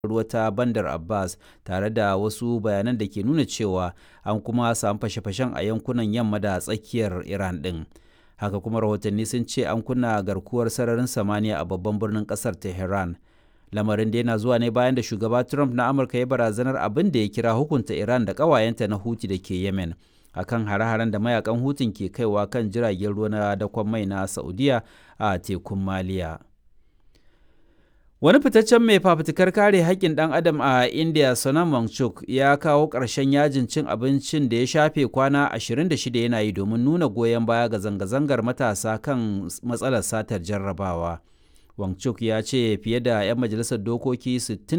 Ruwa ta Bandar Abbas, tare da wasu bayanan da ke nuna cewa an kuma samu fashe-fashen a yankunan yamma da tsakiyar Iran ɗin. Haka kuma rahotanni sun ce an kunna garkuwar sararin samaniya a babban birnin ƙasar Tehran. Lamarin da yana zuwa ne bayan da shugaba Trump na Amurka ya barazanar abin da ya kira hukunta Iran da ƙawayenta na Houthi da ke Yemen akan hare-haren da mayakan Hutun ke kaiwa kan jiragen ruwa na dakon mai na Saudiya a tekun Maliya. Wani fitaccen mai fafutukar kare haƙƙin ɗan adam a India, Sonam Wangchuk, ya kawo ƙarshen yajin cin abincin da ya shafe kwana 26 yana yi domin nuna goyon baya ga zanga-zangar matasa kan matsalar satar jarrabawa. Wangchuk ya ce fiye da 'yan majalisar dokoki 60